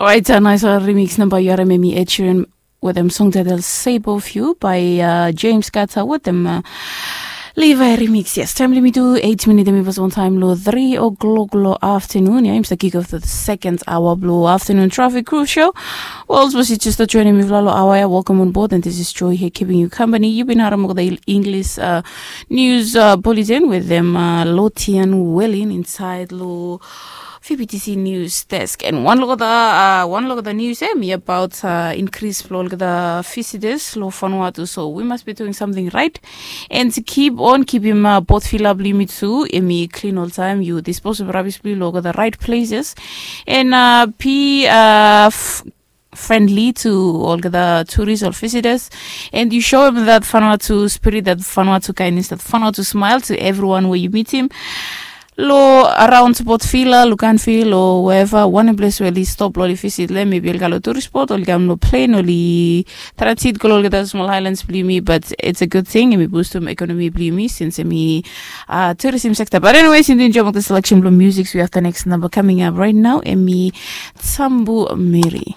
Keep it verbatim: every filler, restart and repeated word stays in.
Orait, nais remix namba yu harim, em i Ed Sheeran wetem song title Shape of You by uh, James Carter wetem uh, Levi remix. Yes, taem blong yumi tu eight minit em i pas on taem long three o'clock long afternoon. Ya, im stap kick off the second hour blong afternoon traffic crew show. Well, suppose you just joining me long hour ya, welcome on board, and this is Joy here keeping you company. You've been harim olgeta English uh, news uh, bulletin wetem uh, Lotian Welin inside long V B T C News Desk. And one look at the uh, one look at the news em i about uh, increase blong olgeta visitors long Vanuatu. So we must be doing something right and keep on keepim uh, both fill up limit tu em i clean all time. You dispose of rubbish blong olgeta right places and uh, be uh, friendly to olgeta tourists or visitors, and you show him that Vanuatu spirit, that Vanuatu kindness, that Vanuatu smile to everyone where you meet him. Lo around Port Vila, Luganville, or wherever, one place where they stop lo visit, le maybe olga lo tourist spot, olga lo plane, oli transit go lo olgeta small islands blong yumi, but it's a good thing, em i boost to economy blong yumi since em i uh, tourism sector. But anyways, in the enjoyment of the selection blong music, we have the next number coming up right now, em i Sambu Mary.